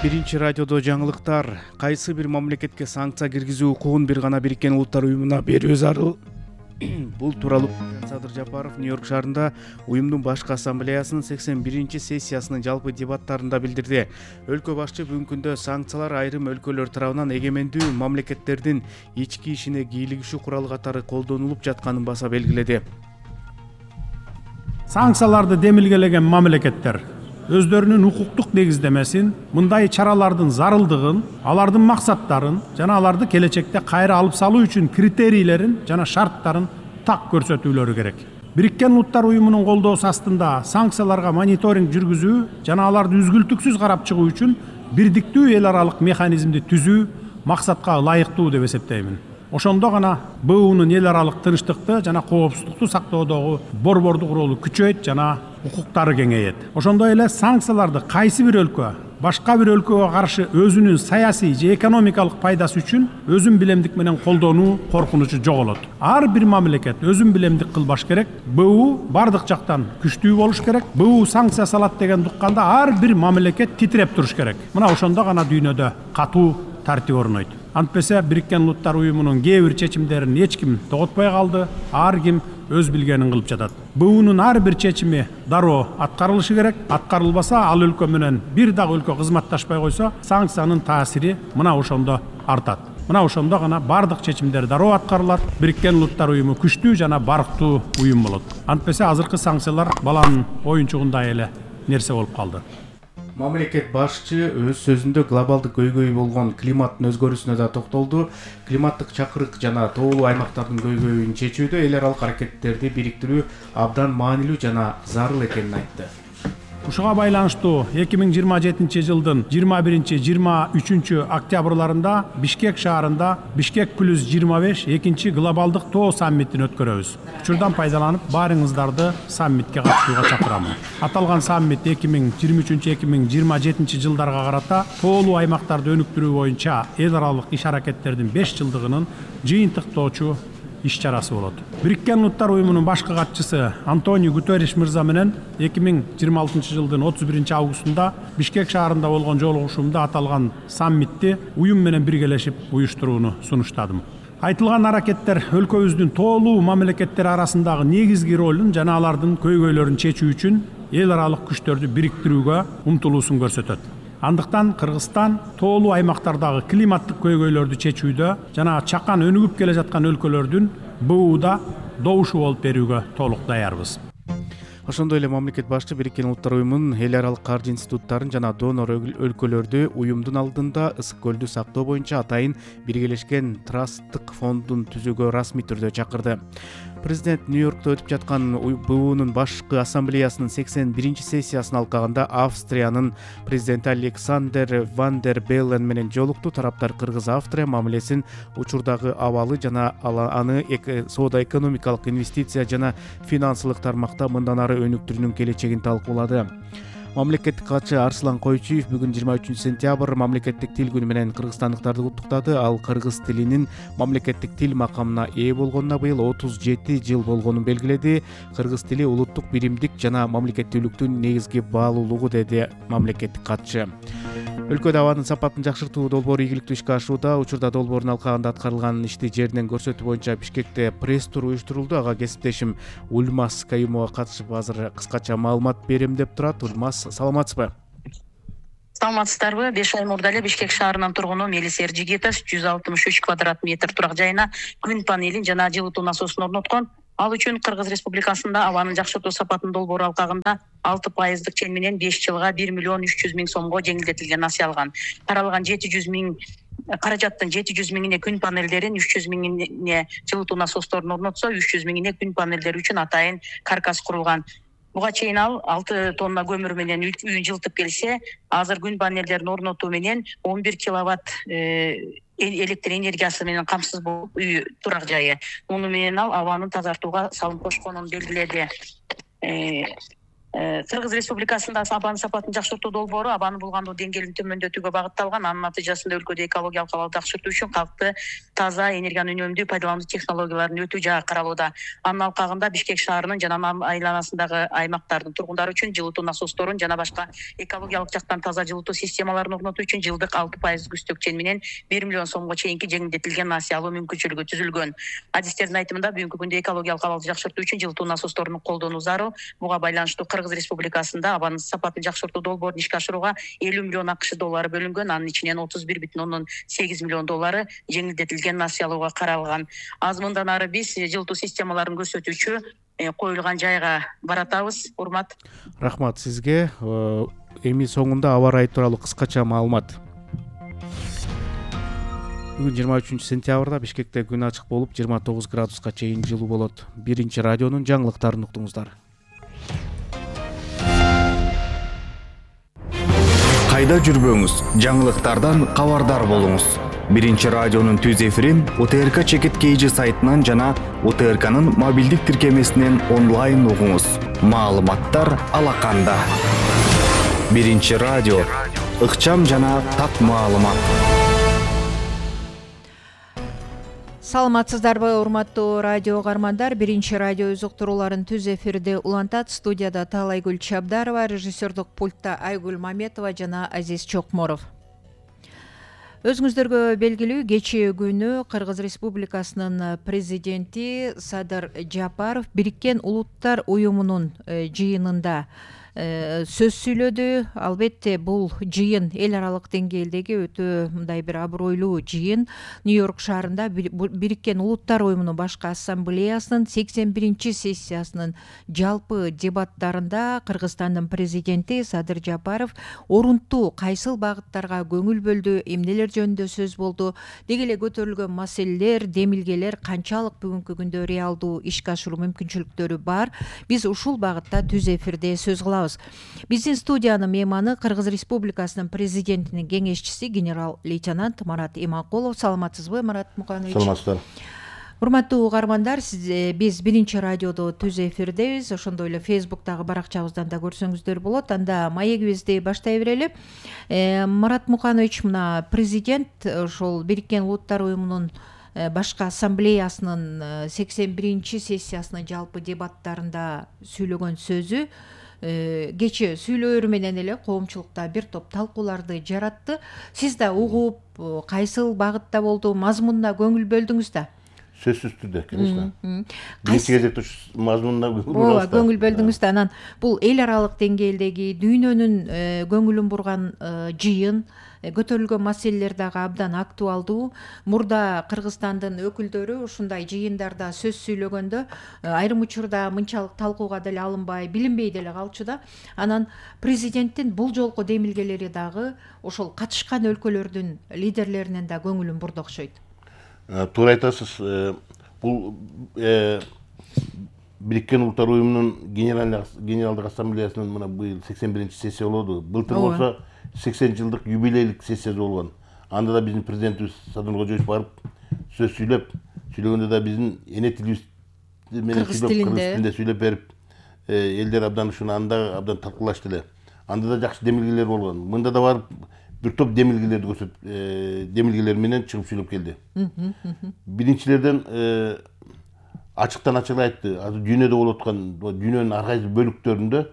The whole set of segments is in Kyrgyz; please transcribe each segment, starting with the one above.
Биринчи радиодо жаңылыктар. Кайсы бир мамлекетке санкция киргизүү укугун бир гана Бириккен Улуттар Уюмуна берүү зарыл. Бул тууралуу Садыр Жапаров Нью-Йорк шаарында уюмдун башкы ассамблеясынын 81-сессиясынын жалпы дебаттарында билдирди. Өлкө башчы бүгүнкү күндө санкциялар айрым өлкөлөр тарабынан эгемендүү мамлекеттердин ички ишине кийлигишүү куралы катары колдонулуп жатканын баса белгиледи. Санкцияларды демилгелеген мамлекеттер өздөрүнүн укуктук негиздемесин, мындай чаралардын зарылдыгын, алардын максаттарын жана аларды келечекте кайра алып салуу үчүн критерийлерин жана шарттарын так көрсөтүүлөрү керек. Бириккен Улуттар Уюмунун колдоосу астында санкцияларга мониторинг жүргүзүү жана аларды үзгүлтүксүз карап чыгуу үчүн бирдиктүү эл аралык механизмди түзүү максатка ылайыктуу деп эсептеймин. Ошондо гана БУнун эл аралык тынчтыкты жана коопсуздукту сактоодогу борбордук ролу күчөйт жана укуктары кеңейет. Ошондой эле санкцияларды кайсы бир өлкө башка бир өлкөгө каршы өзүнүн саясий же экономикалык пайдасы үчүн өзүн билемдик менен колдонуу коркунучу жоголот. Ар бир мамлекет өзүн билемдик кылбаш керек. БУ бардык жактан күчтүү болуш керек. БУ санкция салат деген укканда ар бир мамлекет титиреп туруш керек. Мына ошондо гана дүйнөдө катуу тартип орнойт. Антпесе Бириккен Улуттар Уюмунун кээ бир чечимдерин эч ким тоготпой калды. Ар ким өз билгенин кылып жатат. БУнун ар бир чечими дароо аткарылышы керек. Аткарылбаса, ал өлкө менен бир дагы өлкө кызматташпай койсо, санкциянын таасири мына ошондо артат. Мына ошондо гана бардык чечимдер дароо аткарылат. Бириккен Улуттар Уюму күчтүү жана барктуу уюм болот. Антпесе азыркы санкциялар баланын оюнчугундай эле нерсе болуп калды. Мамлекет башчы өз сөзүндө глобалдык көйгөй болгон климаттын өзгөрүүсүнө да токтолду. Климаттык чакырык жана тоолуу аймактардын көйгөйүн чечүүдө эл аралык аракеттерди бириктирүү абдан маанилүү жана зарыл экенин айтты. Ушуга байланыштуу 2027 жылдын 21-23 октябрларында Бишкек шаарында Бишкек плюс 25 экинчи глобалдык тоо саммитин өткөрөбүз. Учурдан пайдаланып, баарыңыздарды саммитке катышууга чакырамын. Аталган саммит 2023-2027 жылдарга карата тоолуу аймактарды өнүктүрүү боюнча эл аралык иш аракеттердин 5 жылдыгынын жыйынтыктоочу иш-чарасы болот. Бириккен Улуттар Уюмунун башкы катчысы Антонио Гутерриш мырза менен 2026 жылдын 31 августунда Бишкек шаарында болгон жолугушуумда аталган саммитти уюм менен биргелешип уюштурууну сунуштадым. Айтылган аракеттер өлкөбүздүн тоолуу мамлекеттер арасындагы негизги ролун жана алардын көйгөйлөрүн чечүү үчүн эл аралык күчтөрдү бириктирүүгө умтулуусун көрсөтөт. Андыктан Кыргызстан тоолуу аймактардагы климаттык көйгөйлөрдү чечүүдө жана чакан өнүгүп келе жаткан өлкөлөрдүн БУда добушу болуп берүүгө толук даярбыз. Ошондой эле мамлекет башчы Бириккен Улуттар Уюмунун эл аралык каржы институттарын жана донор өлкөлөрдү уюмдун алдында ысык көлдү сактоо боюнча атайын биргелешкен трасттык фондун түзүүгө расмий түрдө чакырды. Президент Нью-Йоркто өтүп жаткан БУнун башкы ассамблеясынын 81-сессиясын алкагында Австриянын президенти Александр ван дер Беллен менен жолукту. Тараптар Кыргыз-Австрия мамилесин, учурдагы абалы жана аны соода-экономикалык, инвестиция жана финансылык тармакта мындан ары өнүктүрүүнүн келечегин талкуулады. Мамлекеттик катчы Арслан Койчуев бүгүн 23 сентябрь мамлекеттик тил күнү менен кыргызстандыктарды куттуктады. Ал кыргыз тилинин мамлекеттик тил макамына ээ болгонуна быйыл 37 жыл болгонун белгиледи. Кыргыз тили улуттук биримдик жана мамлекеттүүлүктүн негизги баалуулугу, деди мамлекеттик катчы. Өлкөдө абанын сапатын жакшыртуу долбоору ийгиликтүү ишке ашууда. Учурда долбоордун алкагында аткарылган ишти жерден көрсөтүү боюнча Бишкекте пресс-тур уюштурулду. Ага кесиптешим Ульмас Каюмова катышып азыр кыскача маалымат берем деп турат. Ульмас, саламатсызбы? Саламатсыздарбы? 5 ай мурда эле Бишкек шаарынын тургуну Мелис Эржигитов 163 квадрат метр турак жайына күн панелин жана жылытуу насосун орноткон. Ал үчүн Кыргыз Республикасында абанын жакшыртуу сапатын долбоору алкагында 6% чен менен 5 жылга 1 миллион 300 миң сомго жеңилдетилген насыя алган. Каралган 700 миң каражаттын 700 миңине күн панелдерин, 300 миңине жылытуу насосторун орнотсо, 300 миңине күн панелдери үчүн атайын каркас курулган. Буга чейин ал 6 тонна көмүр менен үйүн жылытып келсе, азыр күн панелдерин орнотуу менен 11 киловатт электр энергиясы менен камсыз болуп үй турак жайы. Муну менен ал абанын тазартууга салым кошконун белгиледи. Кыргыз Республикасында абанын сапатын жакшыртуу долбоору абаны булгандуу деңгээлин төмөндөтүүгө багытталган. Анын натыйжасында өлкөдө экологиялык абалды жакшыртуу үчүн калкты таза энергияны үнөмдүү пайдалануу технологияларын өтүү жагы каралууда. Анын алкагында Бишкек шаарынын жана айланасындагы аймактардын тургундары үчүн жылытуу насосторун жана башка экологиялык жактан таза жылытуу системаларын орнотуу үчүн жылдык 6% күстөкчен менен 1 миллион сомго чейинки жеңилдетилген насыя алуу мүмкүнчүлүгү түзүлгөн. Адистердин айтымында бүгүнкү күндө экологиялык абалды жакшыртуу үчүн жылытуу насосторун колдонуу зарыл. Буга байланыштуу Кыргыз Республикасында абанын сапатын жакшыртуу долбоорун ишке ашырууга 50 миллион АКШ доллары бөлүнгөн. Анын ичинен 31,8 миллион доллары жеңилдетилген насыя алууга каралган. Аз мындан ары биз жылытуу системаларын көрсөтүүчү коюлган жайга баратабыз. Урмат. Рахмат сизге. Эми соңунда аба ырайы тууралуу кыскача маалымат. Бүгүн 23-сентябрда Бишкекте күн ачык болуп 29 градуска чейин жылуу болот. Биринчи радионун жаңылыктарын уктуңуздар. Кайда жүрбөңүз, жаңылыктардан кабардар болуңуз. Биринчи радионун түз эфирин УТРК Чекит KG сайтынан жана УТРКнын мобилдик тиркемесинен онлайн угуңуз. Маалыматтар алаканда. Биринчи радио, ыкчам жана так маалымат. Саламатсыздарбы, урматтуу радио каармандар. Биринчи радио өз уктурууларын түз эфирде улантат. Студияда Таалайгүл Чабдарова, режиссердук пультта Айгүл Маметова жана Азиз Чокморов. Өзүңүздөргө белгилүү, кечээ күнү Кыргыз Республикасынын президенти Садыр Жапаров Бириккен Улуттар уюмунун жыйынында сөз сүйлөдү. Албетте бул жыйын эл аралык деңгээлдеги өтө мындай бир абройлуу жыйын. Нью-Йорк шаарында Бириккен Улуттар уюмунун башкы ассамблеясынын 81-чи сессиясынын жалпы дебаттарында Кыргызстандын президенти Садыр Жапаров орунтуу кайсыл багыттарга көңүл бөлдү, эмнелер жөнүндө сөз болду, деги эле көтөрүлгөн маселелер, демилгелер канчалык бүгүнкү күндө реалдуу ишке ашыруу мүмкүнчүлүктөрү бар. Биз ушул багытта түз эфирде сөз кылабыз. Биздин студиянын мейманы Кыргыз Республикасынын президентинин кеңешчиси генерал-лейтенант Марат Иманкулов. Саламатсызбы, Марат Муканович? Саламатсыздар. Урматтуу каармандар, биз биринчи радиодо түз эфирдебиз. Ошондой эле Facebook'тагы баракчабыздан да көрсөңүздөр болот. Анда маегибизди баштай берели. Марат Муканович, мына президент ошол Бириккен Улуттар уюмунун башкы ассамблеясынын 81-чи сессиясынын жалпы дебаттарында сүйлөгөн сөзү кечээ сүйлөөрү менен эле коомчулукта бир топ талкууларды жаратты. Сиз да угуп, кайсыл багытта болду, мазмунуна көңүл бөлдүңүз да? Сөзсүз түрдө, конечно. Биринчи кезекте мазмунуна көңүл бөлдүңүз да. Анан бул эл аралык деңгээлдеги дүйнөнүн көңүлүн бурган жыйын, көтөрүлгөн маселелер дагы абдан актуалдуу. Мурда Кыргызстандын өкүлдөрү ушундай жыйындарда сөз сүйлөгөндө айрым учурда мынчалык талкууга деле алынбай, билинбей деле калчу да. Анан президенттин бул жолку демилгелери дагы ошол катышкан өлкөлөрдүн лидерлеринин да көңүлүн бурду окшойт. Туура айтасыз. Бул Бириккен Улуттар уюмунун генералдык ассамблеясынын мына быйыл 81-чи сессия болду. Былтыр болсо 80 жылдык юбилейлик сессиясы болгон. Анда да биздин президентибиз Садыр барып сөз сүйлөгөндө да биздин эне тилибиз менен кыргыз тилинде сүйлөп берип, элдер абдан ушуну анда абдан талкуулашты эле. Анда да жакшы демилгелер болгон. Мында да барып бир топ демилгелерди көрсөтүп, демилгелер менен чыгып сүйлөп келди. Биринчилерден ачыктан ачык айтты. Азыр дүйнөдө болуп аткан, дүйнөнүн ар кайсы бөлүктөрүндө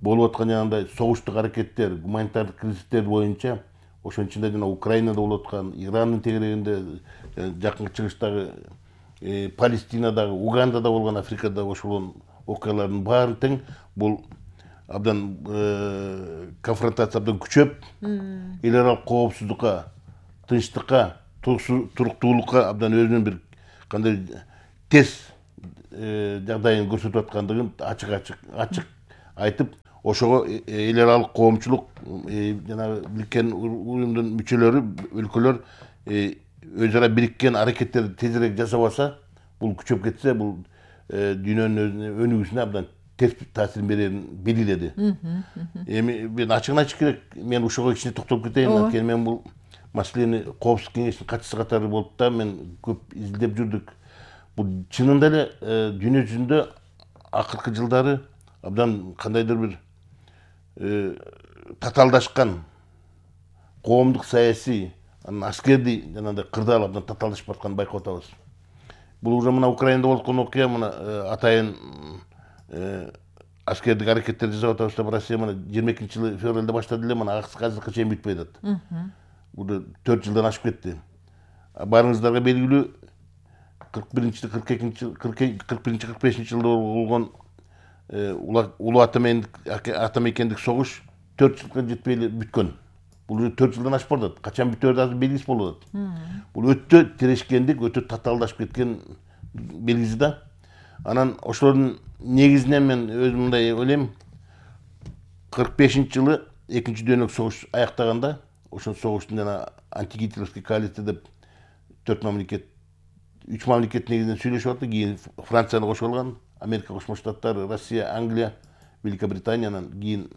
болуп аткан жанагындай согуштук аракеттер, гуманитардык кризистер боюнча, ошонун ичинде жана Украинада болуп аткан, Ирандын тегерегинде, жакынкы чыгыштагы, Палестинадагы, Угандада болгон, Африкада ошол окуялардын баары тең бул абдан конфронтация абдан күчөп, эл аралык коопсуздукка, тынчтыкка, туруктуулукка абдан өзүнүн бир кандай тез жагдайын көрсөтүп аткандыгын ачык айтып, ошого эл аралык коомчулук жана Бириккен уюмдун мүчөлөрү, өлкөлөр өз ара бириккен аракеттерди тезирээк жасабаса, бул күчөп кетсе, бул дүйнөнүн өнүгүүсүнө абдан терс таасирин берерин белгиледи. Эми мен ачыгын айтыш керек, мен ошого кичине токтолуп кетейин. Анткени мен бул маселени коопсуздук кеңешинин катчысы катары болуп да мен көп изилдеп жүрдүк. Бул чынында эле дүйнө жүзүндө акыркы жылдары абдан кандайдыр бир татаалдашкан коомдук саясий анан аскердий жанагындай кырдаал абдан татаалдашып баратканын байкап атабыз. Бул уже мына Украинада болуп аткан окуя, мына атайын аскердик аракеттер жасап атабыз деп Россия мына 22 февралда баштады эле, мына азыркыга чейин бүтпөй атат. Бул 4 жылдан ашып кетти. Барыңыздарга белгилүү 41-45 жылда болгон улуу атамекендик согуш 4 жылга жетпей эле бүткөн. Бул 4 жылдан ашып барат. Качан бүтөөрү азыр белгисиз болуп атат. Бул өтө тирешкендик, өтө татаалдашып кеткен белгиси да. Анан ошолордун негизинен мен өзүм мындай ойлойм, 45-жылы экинчи дүйнөлүк согуш аяктаганда, ошол согуштун жана антигитлеровский коалиция деп 3 мамлекет негизинен сүйлөшүп атты. Кийин Францияны кошуп алган, Америка Кошмо Штаттары, Россия, Англия, Великобританиянан кийин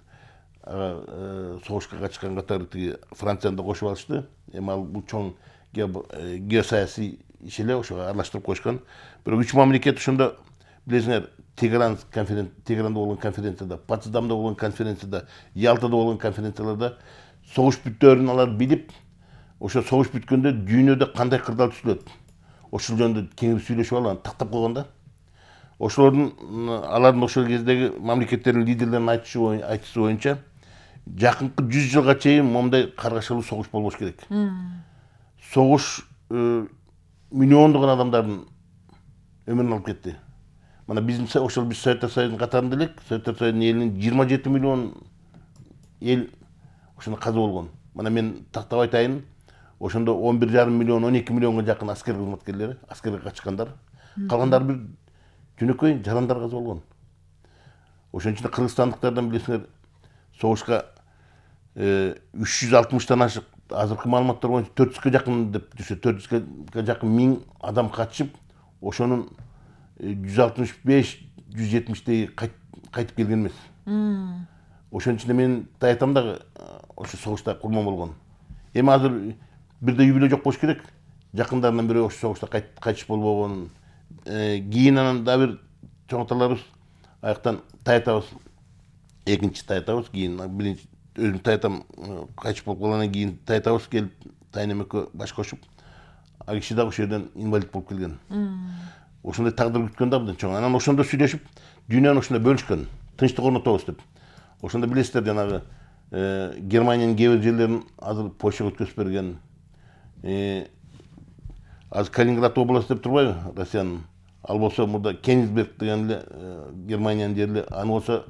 согушка катышкан катары тиги Францияны да кошуп алышты. Эми ал бул чоң геосаясий иш эле, ошого аралаштырып коюшкан. Бирок 3 мамлекет ошондо билесиңер, Тегеранда болгон конференцияда, Потсдамда болгон конференцияда, Ялтада болгон конференцияларда согуш бүттөөрүн алар билип, ошо согуш бүткөндө дүйнөдө кандай кырдаал түзүлөт, ошол жөнүндө кеңири сүйлөшүп алган, тактап койгон да. Алардын ошол кездеги мамлекеттердин лидерлеринин айтышы боюнча жакынкы 100 жылга чейин момундай каргашалуу согуш болбош керек. Согуш миллиондогон адамдардын өмүрүн алып кетти. Мына биз Советтер Союзунун катарында элек, Советтер Союзунун элинин 27 миллион эл ошондо каза болгон. Мына мен тактап айтайын, ошондо 11,5 миллион, 12 миллионго жакын аскер кызматкерлери, аскерге качкандар. Калгандары бир жөнөкөй жарандар каза болгон. Ошон үчүн кыргызстандыктардан билесиңер, согушка 360-тан ашык, азыркы маалыматтар боюнча 400га жакын деп жүрсө, 400га жакын 1000 адам катышып, ошонун 165-170 кайтып келген эмес. Ошон үчүн мен айтам дагы, ошо согушта курман болгон. Эми азыр бирде юбилей жок болуш керек. Жакындарынан бирөө ошо согушта кайтыш болбогон. Кийин анан да бир чоңоталарыбыз аяктан таятабыз. Экинчи таятабыз, кийин биринчи өзүм таятам кайтыш болуп калгандан кийин таятабыз келип, тайнем экөө баш кошуп, ал киши дагы ошол жерден инвалид болуп келген. Ошондой тагдыр күткөн да абдан чоң. Анан ошондо сүйлөшүп, дүйнөнү ошондой бөлүшкөн, тынчтык орнотобуз деп. Ошондо билесиздер, жанагы Германиянын кээ бир жерлерин азыр Польшага өткөзүп берген. Азыр Калининград областы деп турбайбы, Россиянын? Ал болсо мурда Кенигсберг деген эле Германиянын жери, аны болсо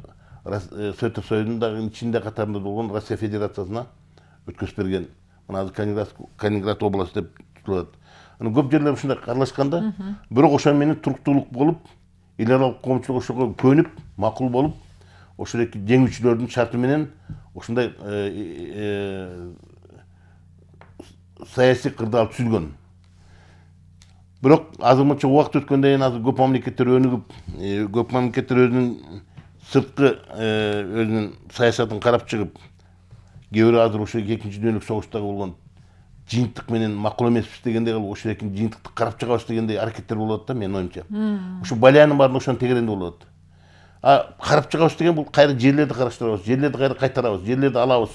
Советтер Союзунун дагы ичинде катарында болгон Россия Федерациясына өткөзүп берген. Мына азыр Калининград областы деп тутулат. Аны көп жерлер ушундай карлашканда, бирок ошо менен туруктуулук болуп, эл аралык коомчулук ошого көнүп, макул болуп, ошол эки жеңүүчүлөрдүн шарты менен ошондой саясий кырдаал түзүлгөн. Бирок азыр мынча убакыт өткөндөн кийин азыр көп мамлекеттер өнүгүп, көп мамлекеттер өзүнүн сырткы өзүнүн саясатын карап чыгып, кээ бири азыр ошо экинчи дүйнөлүк согуштагы болгон жыйынтык менен макул эмеспиз дегендей кылып, ошо экинчи жыйынтыкты карап чыгабыз дегендей аракеттер болуп атат да, менин оюмча. Ошо Балиянын баарын ошонун тегерегинде болуп атат. Карап чыгабыз деген бул кайра жерлерди караштырабыз, жерлерди кайра кайтарабыз, жерлерди алабыз,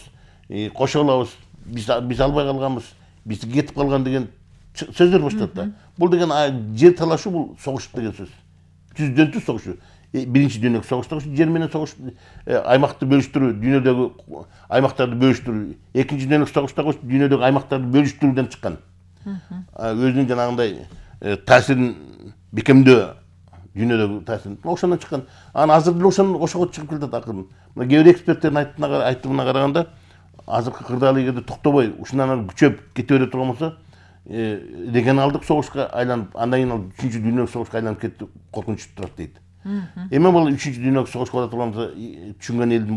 кошо алабыз, биз албай калганбыз, биз кетип калган деген сөздөр башталат да. Бул деген жер талашуу, бул согуш деген сөз. Түздөн түз согушу. Биринчи дүйнөлүк согушта жер менен согуш, аймакты бөлүштүрүү, дүйнөдөгү аймактарды бөлүштүрүү. Экинчи дүйнөлүк согушта дүйнөдөгү аймактарды бөлүштүрүүдөн чыккан. Өзүнүн жанагындай таасирин бекемдөө, дүйнөдөгү таасирин ошондон чыккан. Анан азыр деле ошого чыгып келатат акырын. Мына кээ бир эксперттердин айтымына караганда, азыркы кырдаал эгерде токтобой, ушундан ары күчөп кете бере турган болсо, регионалдык согушка айланып, андан кийин ал 3-дүйнөлүк согушка айланып кетти, коркунучу турат дейт. Эми бул 3-дүйнөлүк согуш боло турганыбызды түшүнгөн элдин